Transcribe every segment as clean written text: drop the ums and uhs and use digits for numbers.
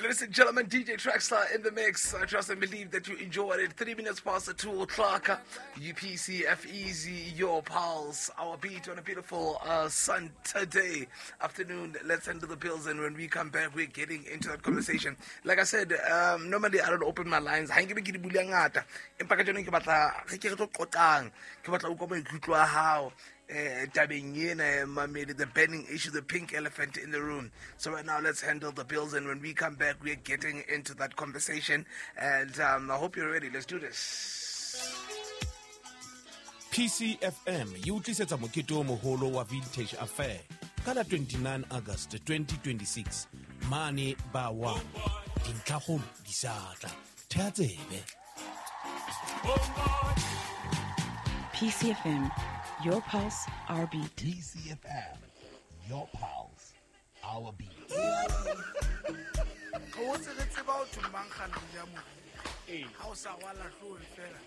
Ladies and gentlemen, DJ Trackstar in the mix. I trust and believe that you enjoyed it. 2:03 o'clock. UPCF Easy, your pulse, our beat on a beautiful Sunday afternoon. Let's handle the bills, and when we come back, we're getting into that conversation. Like I said, normally I don't open my lines. Ha nke be ke di bula ngata. Empa kajeno ke batla re ke re tlo qoqang. Ke batla ho utlwa maikutlo a hao. Tabeng ena, mamedi, the burning issue, the pink elephant in the room. So right now, let's handle the bills, and when we come back, we're getting into that conversation. And I hope you're ready. Let's do this. PCFM e o tlisetsa mokete o moholo wa Vintage Affair ka la 29 August 2026 mane ba 1. Dintlhakgolo di sa tla. Thea tsebe. PCFM, your pulse, our beat. PCFM, your pulse, our beat. Re o tse re tseba ho thwe mang kganong ya moriri. Ha o sa rwala hloohong fela,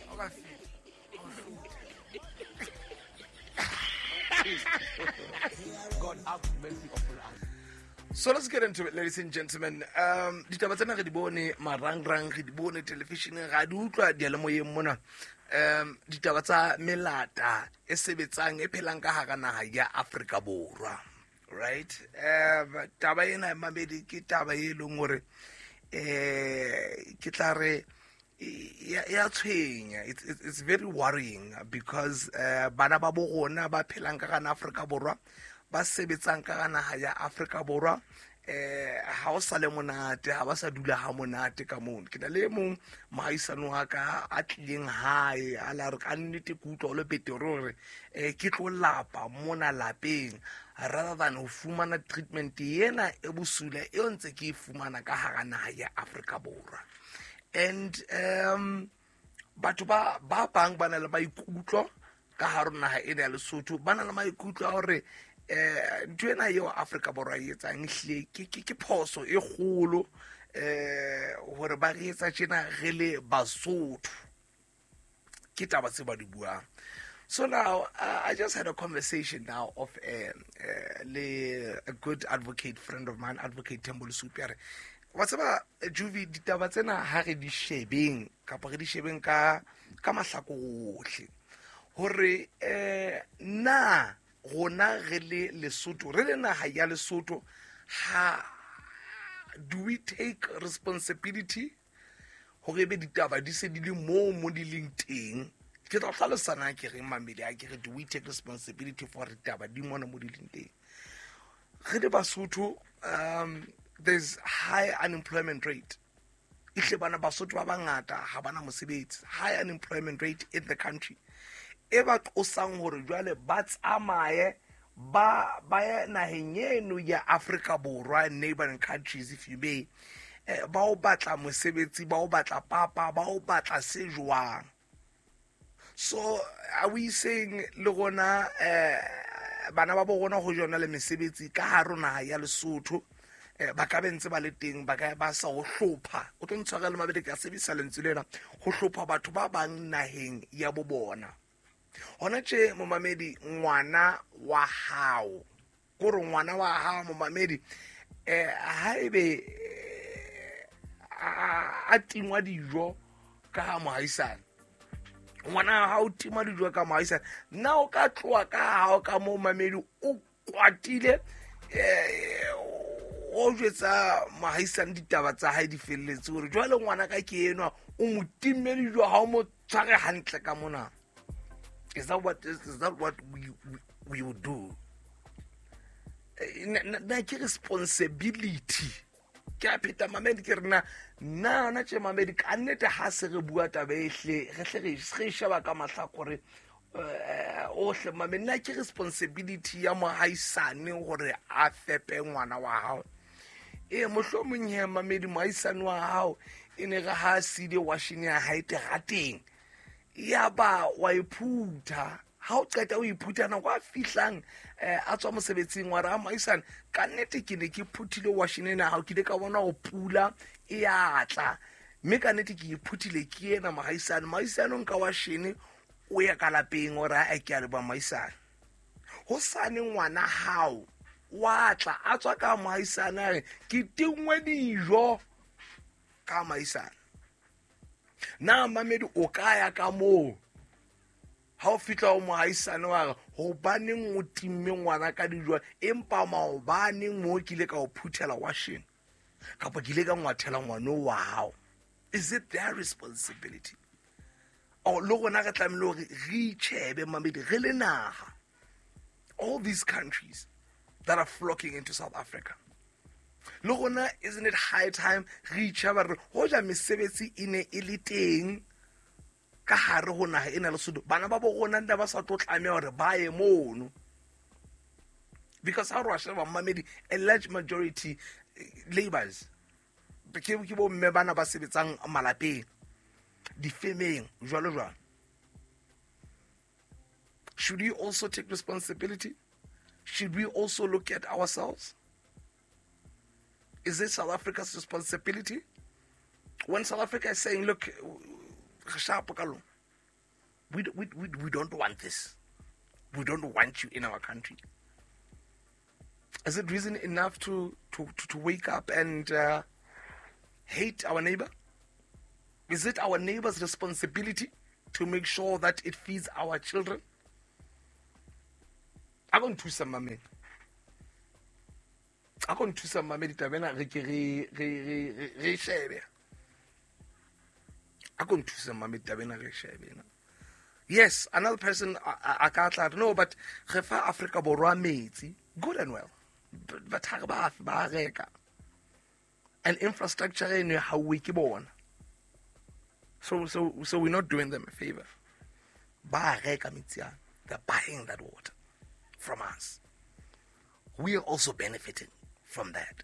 ha o ka feta, ha o hlothe. God have mercy upon us. So let's get into it, ladies and gentlemen. Ditaba tsena re di bone marangrang, re di bone televisioneng, ra di utlwa diyalemoyeng mona. Ditaba tsa melata e sebetsang e phelang ka hara naha ya Afrika Borwa. Right? Taba ena mamedi ke taba e leng hore ke tla re ya tshwenya. It's very worrying because bana ba bo rona ba phelang ka hara Afrika Borwa, ba sebetsang ka hara naha ya Afrika Borwa, ha o sa le monate, ha ba sa dula ha monate ka mono. Ke na le e mong mohaisane wa ka a tlileng hae, a la re ka nnete ke utlwa ho le betere hore ke tlo lapa mona lapeng rather than ho fumana treatment ena e bosula eo ntse ke e fumana ka hara naha ya Afrika Borwa. And batho ba bang ba na le maikutlo ka hare ho naha ena ya Lesotho, ba na le maikutlo a hore ntho ena eo Afrika Borwa e etsang ehlile ke phoso e kgolo hore ba re etsa tjena re le Basotho. Ke taba tse ba di buang. So now, I just had a conversation now of le a good advocate friend of mine, Advocate Thembo Lesupi, a re, wa tseba, Juvi, ditaba tsena ha re di shebeng, kapa re di shebeng ka mahlakore ohle, hore na rona re le Lesotho, re le naha ya Lesotho, ha do we take responsibility hore ebe ditaba di se di le moo mo di leng teng? Ke tla hlalosa na ke reng mamedi, ha ke re do we take responsibility for ditaba di mona mo di leng teng? Re le Basotho, there's high unemployment rate. Ehle bana Basotho ba bangata ha bana mosebetsi. High unemployment rate in the country. E ba qosang hore jwale ba tsamaye ba ye naheng eno ya Afrika Borwa, neighboring countries if you may, ba o batla mosebetsi, ba o batla papa, ba o batla se jwang. So are we saying le rona bana ba bo rona ho jona le mesebetsi ka hare ho naha ya Lesotho, ba ka be ntse ba le teng, ba ka ba sa ho hlopha. O tlo ntshwarela mabedi, ke a sebedisa lentswe lena, ho hlopha batho ba bang naheng ya bo bona. Hona tje momamedi, ngwana wa hao, kore ngwana wa hao momamedi, haebe a tingwa dijo ka ha mohaisane, ngwana wa hao o tingwa dijo ka mohaisane, na o ka tloha ka hao ka mo momamedi o kwatile, o jwetsa mohaisane ditaba tsa hae di felletse hore jwale ngwana ka ke enwa o mo timme dijo, ha o mo tshware hantle ka mona. Is that what we would do? Na ke responsibility. Ke a pheta mamedi, ke re na na tje mamedi, ka nnete ha se re bua taba e hle, re hle re sheba ka mahlakore, ohle mamedi, na ke responsibility ya mohaisane hore a fepe ngwana wa hao? Mohlomong he mamedi, mohaisane wa hao e ne re ha siile washene ya hae terateng, ya ba wa e phutha. Ha o qeta o iphutha, nako a fihlang, a tswa mosebetsing wa re, a mohaisane, ka nnete ke ne ke phuthile washene ena hao, ke ile ka bona ho pula e a tla, mme ka nnete ke e phuthile ke ena mohaisane. Mohaisane o nka washene o ya ka lapeng, o re, a ke a leboha mohaisane. Hosane ngwana hao wa tla a tswa ka moahisane a re ke tingwe dijo ka moahisane. Na mamedi o ka ya ka moo ha o fihla o moahisane wa re hobaneng o timme ngwana ka dijo, empa maobaneng mo ke ile ka o phuthela washeng kapa ke ile ka ngwathela ngwana wa hao. Is it their responsibility? Or le rona re tlamehile hore re itjhebe mamedi re le naha. All these countries that are flocking into South Africa, le rona, isn't it high time re itjheba re hoja mesebetsi e ne e le teng ka hare ho naha ena Lesotho, bana ba bo rona nda ba sa tlo tlameha hore ba ye mono? Because ha re wa sheba mamedi, a large majority labors ke bo mme bana ba sebetsang malapeng, difemeng, jwalo jwalo. Should we also take responsibility? Should we also look at ourselves? Is it South Africa's responsibility? When South Africa is saying, look, we don't want this. We don't want you in our country. Is it reason enough to wake up and hate our neighbor? Is it our neighbor's responsibility to make sure that it feeds our children? I don't choose some mame. I don't choose some mame. Ditabena re ke re shebe. I don't choose some mame. Ditabena re shebe. Yes, another person a ka tla no, but re fa Afrika Borwa metsi, good and well. But ha re ba ba reka. And infrastructure eno ha o ke bona. So we're not doing them a favor. Ba reka metsi ana. They're buying that water from us. We are also benefiting from that.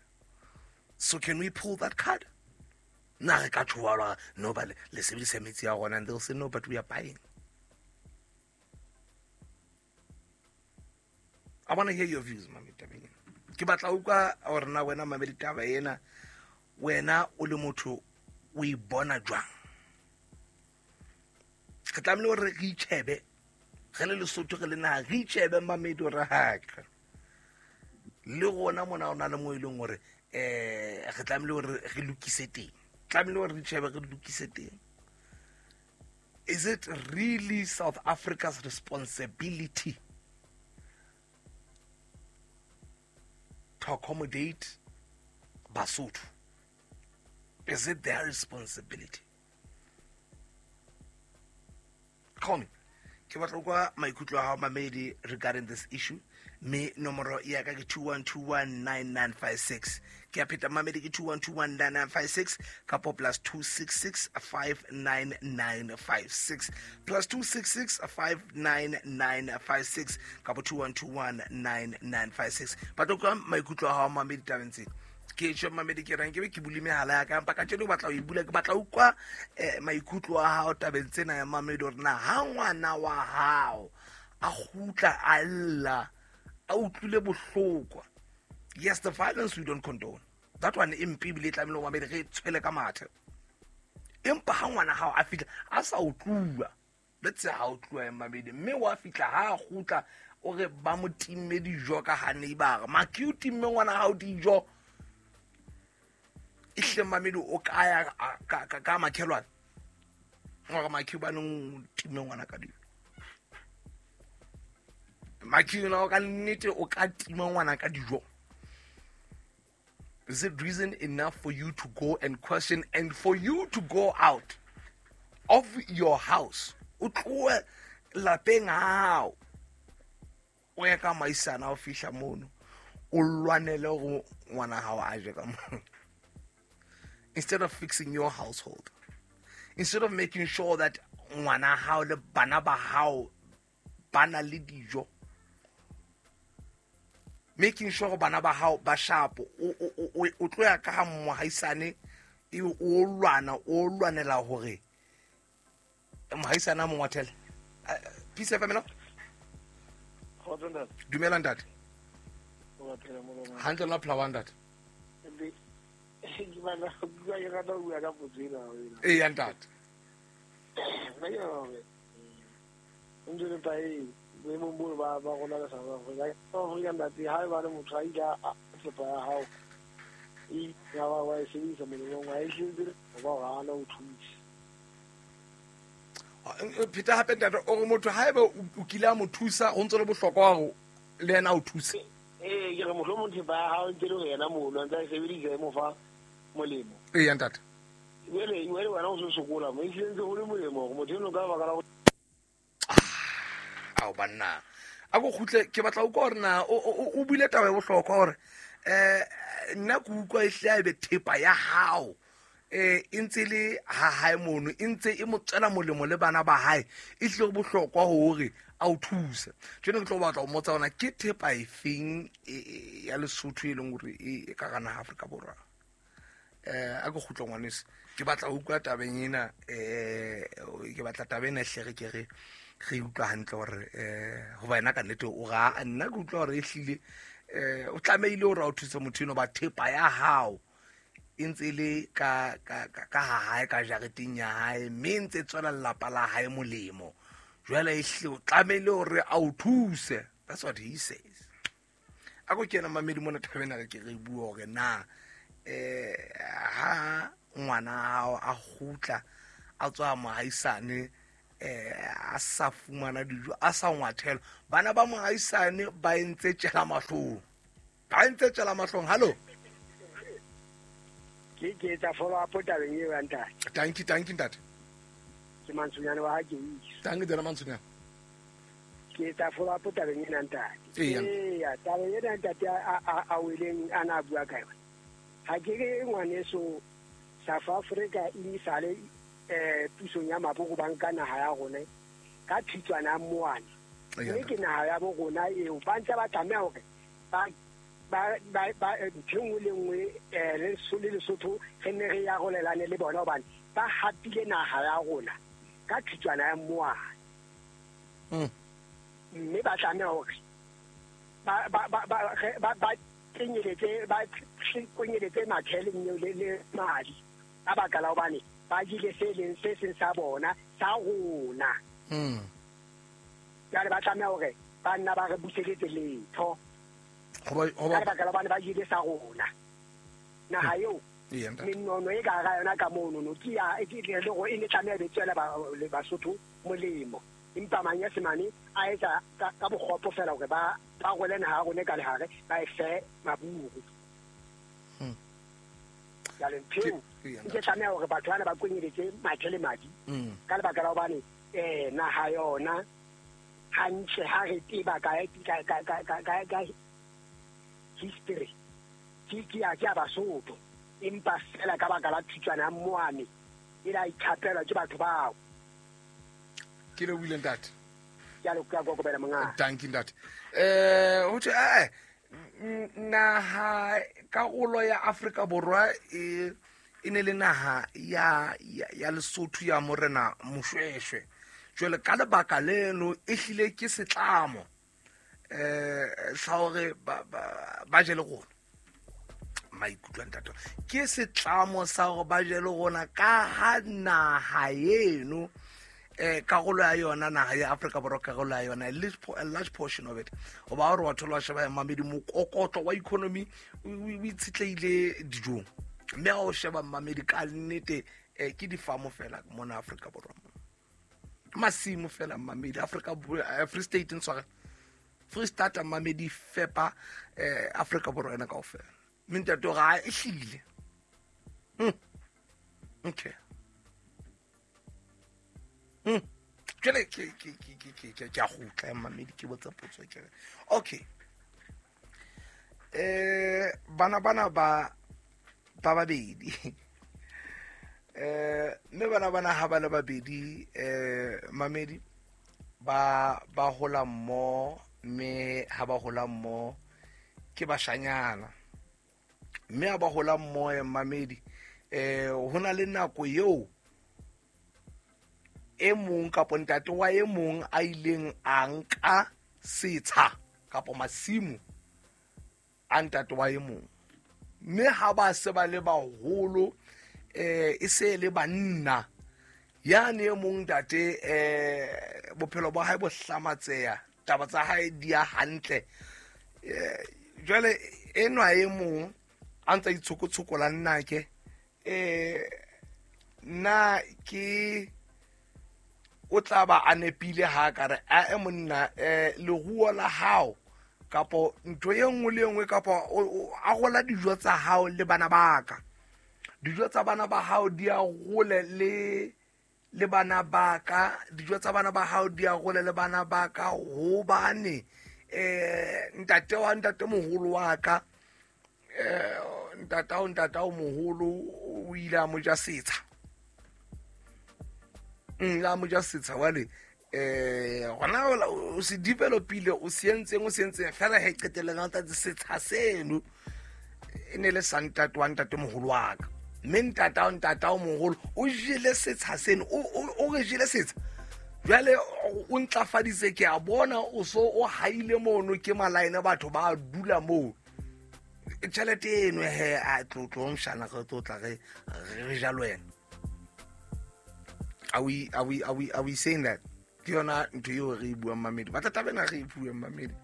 So can we pull that card? Na re ka tjhoa no ba le sebedisa metsi a rona, and they'll say no, but we are buying. I want to hear your views, mami tabeng ena. Ke batla utlwa hore na wena mamedi taba ena, wena o le motho o e bona jwang? Re tlamehile hore re itjhebe, re le Lesotho, re le naha, re itjhebe mamedi hore haka le rona mona o na le mo e leng hore re tlamehile hore re lokise teng, tlamehile hore re itjhebe re lokise teng. Is it really South Africa's responsibility to accommodate Basotho? Is it their responsibility? Call me. Ke batla kwa maikutlo a hao mamedi regarding this issue. Me nomoro ya ka ke 21219956. Ke a pheta mamedi ke 21219956 kapo +266 59956 +266 59956 kapo 21219956. Batla kwa maikutlo a hao mamedi tabeng tsena. Ke tjho mamedi ke rang ke be ke bule mehala ya ka, empa ka tjeno batla ho e bula, ke batla utlwa maikutlo a hao tabeng tsena ya mamedi hore na ha ngwana wa hao a kgutla a lla a utlwile bohloko. Yes, the violence we don't condone. That one empe ebile e tlamehile ho mamedi re tshwele ka mathe. Empa ha ngwana hao a fihla a sa utluwa, let's say ha utluwa mamedi, mme wa fihla ha kgutla o re ba mo timme dijo ka ha neighbor, maki o timme ngwana hao dijo. Ihle mamedi o kaya ka makhelwane ngore maki ba nong timme ngwana ka dijo. Maki o ka nnete o ka tima ngwana ka dijo. Is it reason enough for you to go and question and for you to go out of your house? O tlohe lapeng hao o ya ka maisana o fihla mono o lwanele go ngwana hao a je ka mo. Instead of fixing your household, instead of making sure that ngwana hao le bana ba hao ba na le dijo, making sure bana ba hao ba sharp, o tlo ya ka ha mohaisane e o lwana o lwanela hore mohaisane a mo ngwathele. Peace FM no? Dumela ntate. Hantle la phela wa ntate. Ke bana bua ke rata ho bua ka potso ena. Ee ntate. Nna ke nahana hore ntho e nepae Boemong bo ba rona ka South Africa. South Africa ntate ha e ba le motho a ile a thepa ya hao e ya ba wa e sebedisa molemong wa e hletse ba o hana ho thusa. Pheta hape ntate o re motho haeba o kile a mo thusa ho ntse le bohlokwa hore le yena a o thuse. Ee, ke re mohlomong thepa ya hao ntse le ho yena mono a ntse a e sebedisa e mo fa molemo. Eya ntate. Jwale wena o se sokola mo e hlile ntse ho le molemo hore motho eno ka baka la ao banna a ko kgutle ke batla utlwa gore na o buile taba e bohlokwa gore nna ke utlwa e hle a ebe thepa ya hao e ntse le ha hae mono e ntse e mo tswela molemo le bana ba hae e hlile go bohlokwa hore a o thuse. Jwale ke tlo batla ho mmotsa hore ke thepa e feng ya Lesotho e leng hore e ka gana Afrika Borwa. A ko kgutle ngwaneso ke batla ho utlwa tabeng ena ke batla taba ena hle re ke re re utlwa hantle hore hoba yena ka nnete o ra nna ke utlwa hore e hlile o tlamehile hore a o thuse motho eno ba thepa ya hao e ntse le ka ka ka ha hae ka jareteng ya hae mme e ntse tswela lelapa la hae molemo jwale e hlile o tlamehile hore a o thuse. That's what he says. A ko kena mamedi mona thabeng re ke re bua hore na ha ngwana hao a kgutla a tswa mohaisane a sa fumana dijo a sa ngwathela bana ba mohaisane ba entse tjela mahlong ba entse tjela mahlong. Hallo ke etsa follow up tabeng eo ya ntate. Tanki ntate. Ke Mantsonyane wa ha ke itse. Tanki tsena Mantsonyane. Ke etsa follow up tabeng ena ntate. Eya tabeng ena ntate a weleng a na bua ka yona. Ha ke re ngwaneso South Africa e sale pusong ya maboko ba nka naha ya rona ka thitswana ya moane. Mme ke naha ya bo rona eo ba ntse ba tlameha hore ba ntho nngwe le nngwe le Lesotho re ne re ya rolelane le bona hobane ba hapile naha ya rona ka thitswana ya moane. Mme ba tlameha hore ba kenyeletse ba konyeletse mathele le madi ka baka la hobane ba jile se leng se seng sa bona sa rona. Jwale ba tlameha hore ba nna ba re buseletse letho ka lebaka la hobane ba jile sa rona. Naha eo menono e ka hara yona ka monono ke ya le hore e ne tlameha be tswela Basotho molemo empa Manyesemane a etsa ka bokgopo fela hore ba role naha ya rona ka lehare ba e fe maburu. Jwale ntho eo ke tlameha hore batho bana ba kwenyeletse mathe le madi ka lebaka la hobane naha yona hantle ha re tseba ka history ke ya Basotho empa fela ka baka la thitswana ya moane e la ikhapelwa ke batho bao. Ke le buile ntate. Ke a le kokobela monga. Thank you ntate. Ho thwe naha karolo ya Afrika Borwa e ne le naha ya Lesotho ya morena Moshweshwe. Jwale ka lebaka leno e hlile ke setlamo sa hore ba je le rona. Maikutlo ntate ke setlamo sa hore ba je le rona ka ha naha eno karolo ya yona naha ya Afrika Borwa karolo ya yona a large portion of it o ba hore wa thola sheba mamedi mokokotlo wa economy o itshetleile dijong mme ha o sheba mamedi ka nnete ke difamo fela mona Afrika Borwa masimo fela mamedi Afrika Free State ntshware Free State mamedi fepa Afrika Borwa ena kaofela mme ntate ga e hlile. Okay. Jwale ke a kgutla mamedi ke botsa potso ke re okay bana ba babedi mme bana ha ba le babedi mamedi ba hola mmo mme ha ba hola mmo ke bashanyana mme ha ba hola mmo mamedi ho na le nako eo e mong kapo ntate wa e mong a ileng a nka setsha kapo masimo a ntate wa e mong mme ha ba se ba le baholo e se le banna yane e mong ntate bophelo ba hae bo hlamatseya Taba tsa hae di ya hantle. Jwale enwa e mong a ntsa itshokotshokola nnake nna ke o tla ba a nepile ha ka re a monna leruo la hao kapo ntho e nngwe le nngwe kapo a gola dijo tsa hao le bana ba ka. Dijo tsa bana ba hao di a gole le bana ba ka, dijo tsa bana ba hao di a gole le bana ba ka hobane ntate wa ntate moholo wa ka ntatao moholo o ile a mo ja setsha. La mo ja setsha wale gona o se developile o se entseng fela he qetellang ntate setsha seno e ne le sa ntate wa ntate moholo wa ka. Mme ntatao moholo o jele setsha seno, o re jele setsha. Jwale o ntlafaditse ke a bona o so o haile mono ke malaene batho ba dula moo. Tjhelete eno he a tlotlo mshana re tlotla re jalo wena. Are we saying that? Ke yona ntho eo re e buang mamedi. Batla taba ena re e buang mamedi.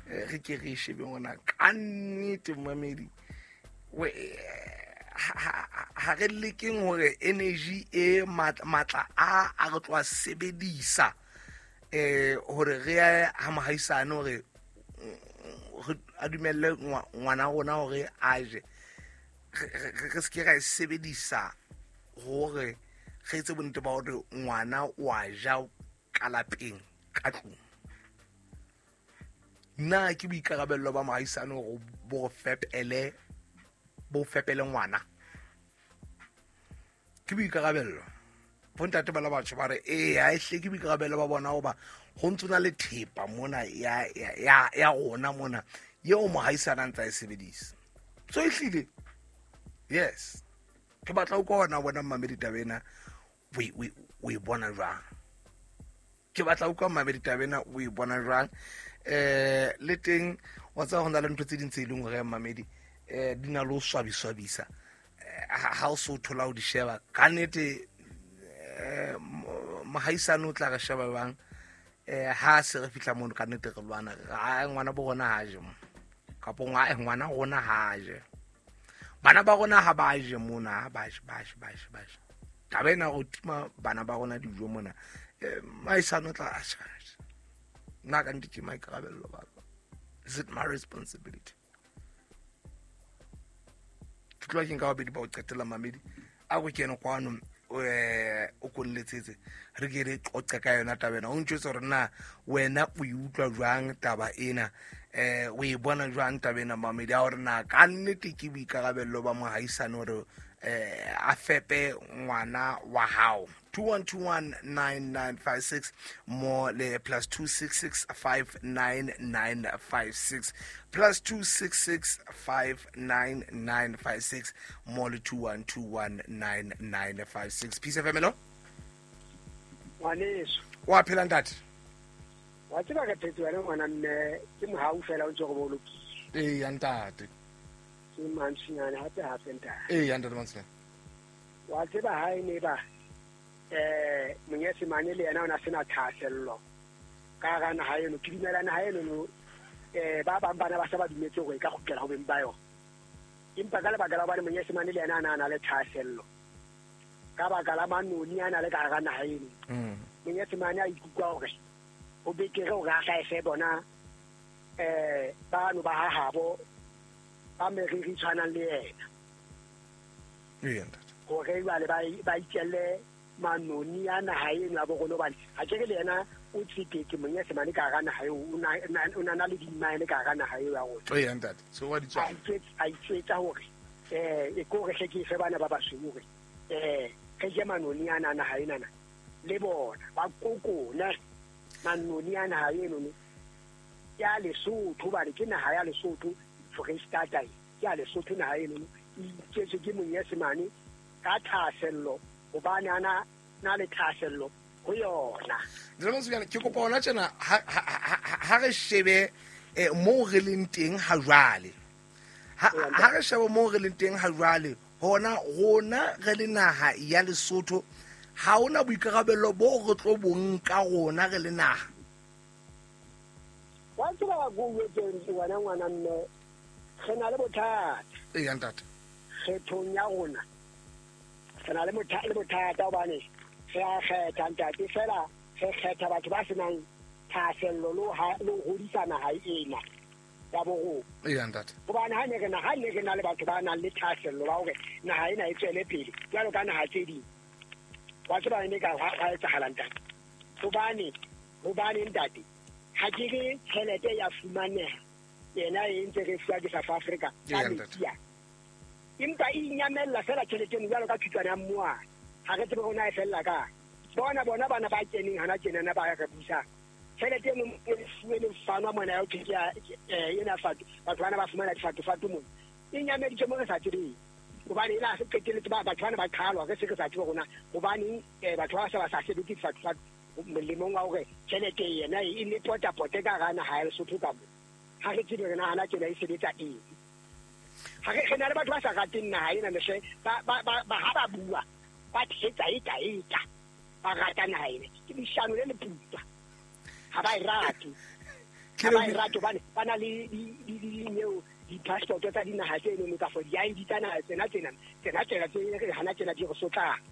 Re ke re shebe ngwana ka nnete mamedi. Ha re lekeng hore energy e matla a re tloa sebedisa hore re ya ha mohaisane hore a dumelle ngwana rona hore a je. Re se ke ra e sebedisa hore re etse bonnete ba hore ngwana o a ja ka lapeng ka tlung. Nna ke boikarabello ba mohaisane hore bo fepele ngwana. Ke boikarabello. Bontate ba la batho ba re ha e hle ke boikarabello ba bona hoba ho ntse na le thepa mona ya rona mona eo mohaisane a ntsa e sebedisa. So ehlile yes. Ke batla o kona bona mmamedi taba ena o e bona jwang. Ke batla o kwa mmamedi taba ena o e bona jwang. Le teng wa tseba ho na le ntho tse ding tse leng hore mmamedi di na le ho swabiswabisa ha o so thola o di sheba ka nnete mohaisane o tla re sheba bang ha se re fihla mono ka nnete re lwana ngwana bo rona ha je mo kapo ngwana rona ha je. Bana ba rona ha ba je mona, ba je. Taba ena go tima bana ba rona dijo mona mohaisane o tla a sheba. Nna ka nnete ke maikarabello ba ka. Is it my responsibility? Ke tloha ke nka babedi ba o qetela mamedi a go kene kwano o konletsetse re ke re qoqe ka yona taba ena. O ntjwetse hore na wena o e utlwa jwang taba ena, o e bona jwang taba ena mamedi a hore na ka nnete ke boikarabello ba mohaisane hore a fepe ngwana wa hao. 21219956 mo le +266 59956 +266 59956 mo le 21219956. Peace FM hello. Ngwaneso wa phela ntate? Wa tseba ka phetse wena ngwana mme ke mohau fela o ntse go bolokile. Ee ntate. Ke mantshinyane hape ntate. Ee ntate mantshinyane. Wa tseba ha e ne ba monyesemane le yena o na sena thahasello ka hara naha eno. Ke dumela naha eno no ba bang bana ba sa ba dumetse hore e ka kgutlela ho beng ba yona, empa ka lebaka la hobane monyesemane le yena a na le thahasello ka baka la manoni a na le ka hara naha eno, monyesemane a ikutlwa hore ho betere hore a hlaese bona bano ba hahabo ba meriri tshwanang le yena hore jwale ba itjelle manoni a naha eno ya bo rona hobane ha ke re le yena o tsetetse monyesemane ka hara naha eo, o na le dimaene ka hara naha eo ya rona. Ee ntate, so wa di tswa. A itjwetsa hore e ko re hle ke fe bana ba basweu hore re je manoni a naha enana le bona ba kokone manoni a naha eno ya Lesotho hobane ke naha ya Lesotho, Foreistatata ke ya Lesotho naha eno e iketswe ke monyesemane ka thahasello hobane ana na le thahasello ho yona. Ntate ke kopa hona tjena ha re shebe moo re leng teng ha jwale. Ha re shebe moo re leng teng ha jwale hona rona re le naha ya Lesotho ha ona boikarabello bo re tlo bo nka rona re le naha. Wa tseba go wetseng wena ngwana mme re na le bothata. Ee ntate. Kgethong ya rona re na le bothata hobane re a kgetha ntate fela re kgetha batho ba senang thahasello le ho hodisa naha ena ya bo rona. Ee ntate. Hobane ha ne re na le batho ba nang le thahasello ba hore naha ena e tswele pele jwalo ka naha tse ding. Wa tseba ene ka ha etsahala ntate. Hobane ntate ha ke re tjhelete ya fumaneha yena e ntse re fuwa ke South Africa ka metsi. Empa e inyamella fela tjhelete eno jwalo ka thutwana ya mmoane. Ha re tsebe hore na e fella kae. Bona bana ba keneng hana tjenana ba re busang. Tjhelete eno e fuwe le fanwa mona ya ho thwe ena fatu batho bana ba fumana difatofatu mona. E nyameditse mo re sa tsebeng. Hobane e la se qetelletse ba batho bana ba qhalwa re se re sa tsebe rona hobaneng batho ba sa sebetse difatofatu molemong wa hore tjhelete yena e ne potapote ka hara naha ya Lesotho ka mo. Ha re tsebe re nahana tjena e sebetsa eng. Ha re na le batho ba sa rateng naha ena mehle ba ha ba bua ba thetsa eka ba rata naha ena. Ke leshano le leputswa. Ha ba e rate. Ha ba e rate hobane ba na le dineo di-passport tsa dinaha tse eno ka for di-ID tsa naha tsena tse hana tsena di re sotlang.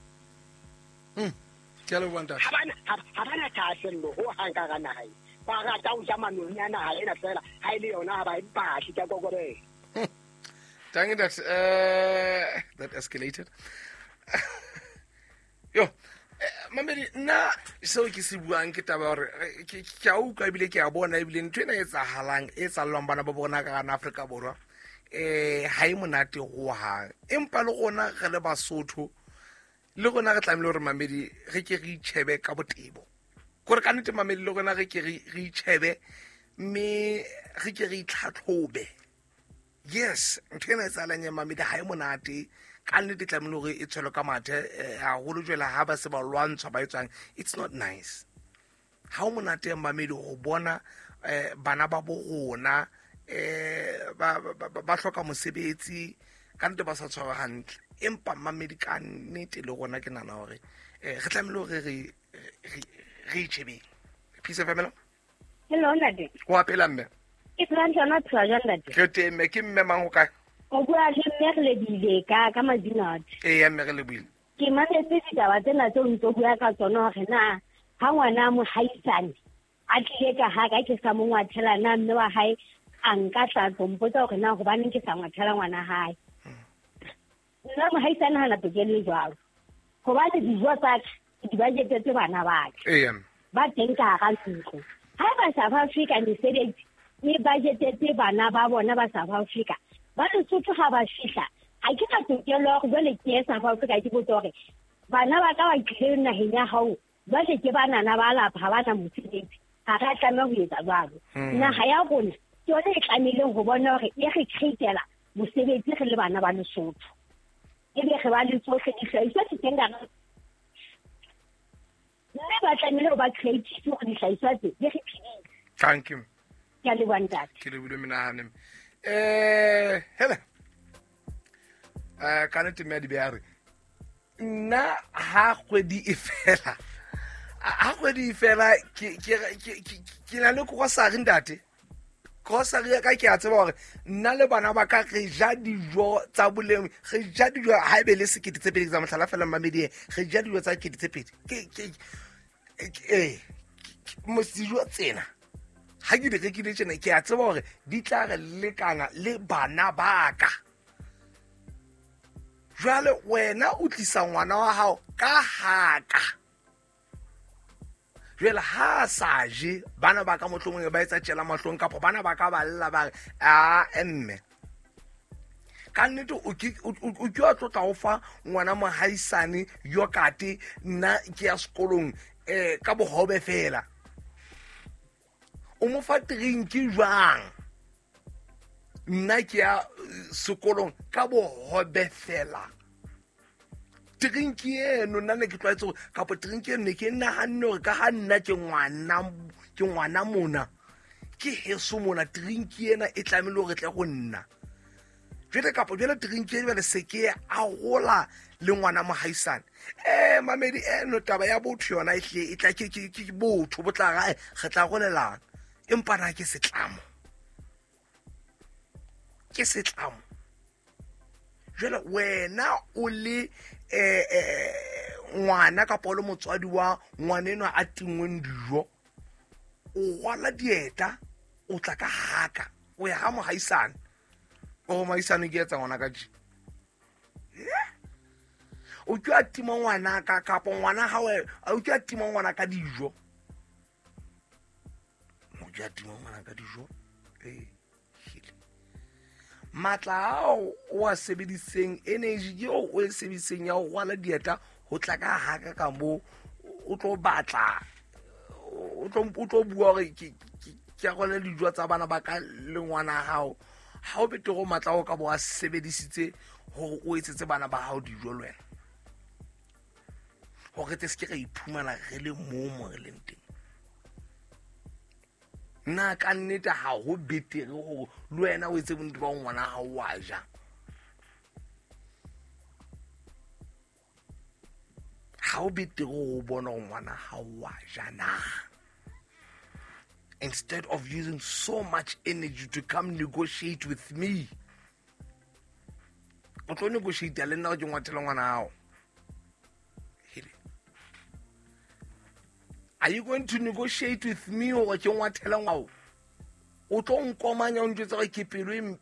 Ke a leboha ntate. Ha bana thahasello ho hang ka hara naha ena. Ba rata ho ja manoni a naha ena fela ha e le yona ha ba e batle ka kokobela. Thank you, that escalated. Yo, mamedi nna seo ke se buang ke taba hore ke a utlwa ebile ke a bona ebile ntho ena e etsahalang e etsahallwang bana ba bona ka hara Afrika Borwa ha e monate hohang. Empa le rona re le Basotho le rona re tlamehile hore mamedi re ke re itjhebe ka botebo. Kore ka nnete mamedi le rona re ke re itjhebe mme re ke re itlhatlhobe. Yes, ntho ena e etsahalang ya mamedi ha e monate. Ka nnete tlamehile hore e tshwelwe ka mathe haholo jwale ha ba se ba lwantshwa ba etswang. It's not nice. Ha o monate mamedi ho bona bana ba bo rona ba hloka mosebetsi ka nnete ba sa tshwarwa hantle. Empa mamedi ka nnete le rona ke nahana hore re tlamehile hore re itjhebeng. Peace FM. Hello ntate. Wa phela mme? Ke phela jana phela jana ntate. Re teng mme, ke mme mang ho kae? O bua le mme re lebile ka Madinat. Ee mme re lebile. Ke mametse ditaba tsena tse o ntso bua ka tsona hore na ha ngwana mohaisane a tlile ka ha ka ke sa mo ngwathela na mme wa hae a nka tla tlo mpotsa hore na hobaneng ke sa ngwathela ngwana hae. Nna mohaisane hana tokelo e jwalo. Hobane dijo tsa ka di budgetetse bana ba ka. Ee. Ba teng ka hara ntlo. Ha ba South Africa mesebetsi e budgetetse bana ba bona ba South Africa. Ba Lesotho ha ba fihla ha ke na tokelo ya hore jwale ke ye South Africa ke botse hore bana ba ka ba tlile naheng ya hao jwale ke banana ba lapa ha bana mosebetsi. Ha re a tlameha ho etsa jwalo. Naha ya rona ke yona e tlamehileng ho bona hore e re createla mosebetsi re le bana ba Lesotho. Ebe re ba le tsohle dihlahiswa di teng ka mme ba tlamehile ho ba creative hore dihlahiswa tse di re phedise. Thank you. Ke a leboha ntate. Ke lebohile menahane. Hele. Ka nnete mme a di beha re nna ha kgwedi e fela. Ha kgwedi e fela ke na le grocery ntate. Grocery ya ka ke a tseba hore nna le bana ba ka re ja dijo tsa boleng, re ja dijo ha ebe le 2 000 tsa mohlala fela mamedi, re ja dijo tsa 2 000. Ke dijo tsena ha ke di rekile tjena ke a tseba hore di tla re lekana le bana ba ka. Jwale wena o tlisa ngwana wa hao ka haka. Jwale ha sa je bana ba ka mohlomong ba etsa tjela mahlong kapa bana ba ka ba lla ba re a mme. Ka nnete o ke wa tlotla ho fa ngwana mohaisane yokate nna ke ya sekolong ka bohobe fela. O mo fa drink jwang? Nna ke ya sekolong ka bohobe fela. Drink eno nna ne ke tlwaetse hore kapa drink eno ne ke nahanne hore ka ha nna ke ngwana mona ke heso mona drink ena e tlamehile hore tle go nna. Jwale kapa jwale drink e jwale se ke a gola le ngwana mohaisane. Mamedi eno taba ya botho yona e hle e tla ke botho bo tla re tla golelana. Empa na ke setlamo, ke setlamo. Jwale wena o le ngwana kapa o le motswadi wa ngwana enwa a tingweng dijo, o rwala dieta, o tla ka haka, o ya ha mohaisane, o mohaisane ke etsa ngwana ka tje. O ke a tima ngwana ka kapa ngwana ha o ke a tima ngwana ka dijo. O ke a tima ngwana ka dijo. Matla ao o a sebediseng, energy eo o e sebediseng ya ho rwala dieta ho tla ka haka ka mo, o tlo batla, o tlo bua hore ke a rwala dijo tsa bana ba ka le ngwana hao. Ha o betere matla ao ka bo a sebedisitse hore o etsetse bana ba hao dijo le wena, hore te se ke ra iphumana re le moo mo re leng teng. Nna ka nnete ha ho betere hore le wena o etse bonnete ba ngwana hao wa ja. Ha ho betere ho bona hore ngwana hao wa ja na, instead of using so much energy to come negotiate with me. O tlo negotiate le nna ke ngwathela ngwana hao. Are you going to negotiate with me or ke ngwathela ngwao? O tlo nkomanya o ntjwetsa hore ke pelo e mpe.